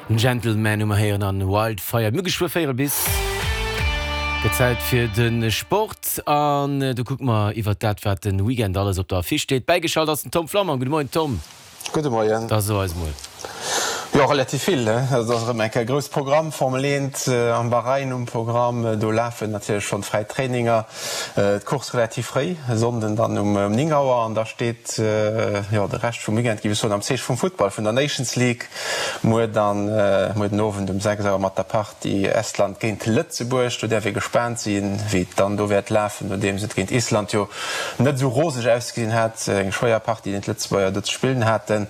Gentleman hu mer héieren an Wildfire. Mir hu geschwë véierel bis. Gëtt Zäit fir de Sport an do kucke mer iwwert dat, wat de Weekend alles op der Affiche steet. Bäigeschalt ass den Tom Flammang. Gudde Moien Tom. Gudde Moien. Da so eis mol. Jo, relativ vill, he. Et ass erëm eng Kéier grouss Programm, Formel 1 am Bahrain um Programm. Do lafen natierlech schonn fräi Traininger, d'Course relativ fréi, e Sonnden dann um 9 Auer. An da steet, jo, de Rescht vum Weekend, géif ech soen, am Zeeche vum Futtball, vun der Nations League. Muer dann, muer den Owend um 6 Auer mat der Partie Estland géint Lëtzebuerg. Do däerf ee gespaant sinn, wéi et dann do wäert lafen, nodeems et géint Island jo net esou roseg ausgesinn hat. Eng schwéier Partie, déi d'Lëtzebuerger do ze spillen haten.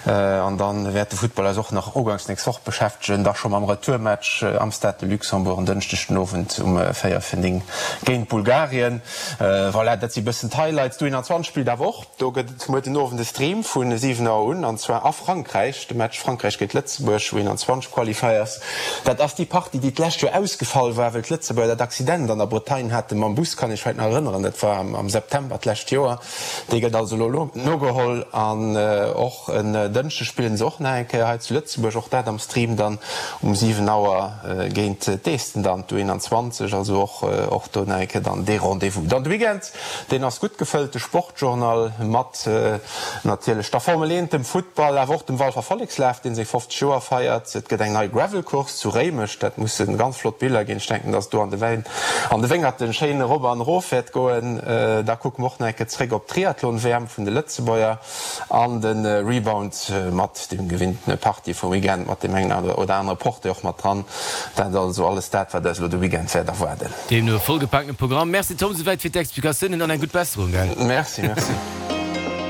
An dann wäert de Futtball eis och nach uganks nächst Woch beschäftegen, da scho mam Retourmatch am Stade de Luxembourg en Dënschdeg den Owend um 4 vir 9 géint Bulgarien. Voilà, dat si bëssen d'Highlights. D'U21 spillt awer och. Do gëtt et muer den Owend e Stream vu 7 Auer un, an zwar a Frankräich, de Match Frankräich géint Lëtzebuerg, U21 Qualifiers. Dat ass déi Partie, déi d'lescht Joer ausgefall war, well d'Lëtzebuerger dat Accident an der Bretagne hate mam Bus, kann ech vläicht nach erënneren, dat war am September d'lescht Joer. Dee gëtt also elo nogeholl an och en Dënschdeg spillen se och nach eng Kéier hei zu Lëtzebuerg, och dat am Stream dann um 7 Auer géint d'Esten dann, d'U21, also och do nach eng Kéier dann dee Rendez-vous. Dann de Weekend. Deen ass gutt gefëllt, de Sportjournal, mat natierlech der Formel 1, dem Futtball, awer och dem Walfer Vollekslaf, deen seng 50 Joer feiert. Et gëtt eng nei Gravel-Course zu Réimech, dat musse ganz flott Biller ginn. Ech denken, dass et do an de Wäin, an de Wéngerten schéin erop an erof wäert goen. Da kucke mer och nach eng Kéier zréck op d'Triathlon-WM vun de Lëtzebuerger an de Rebound mat dem gewinntene Party vum Weekend, mat deem engen oder anere Portrait och mat dran. Dat also alles dat, wat eis elo de Weekend wäert erwaarden. Deemno e vollgepaakte Programm. Merci Tom, souwäit fir d'Explikatiounen an eng gutt Besserung, gell? Merci, merci.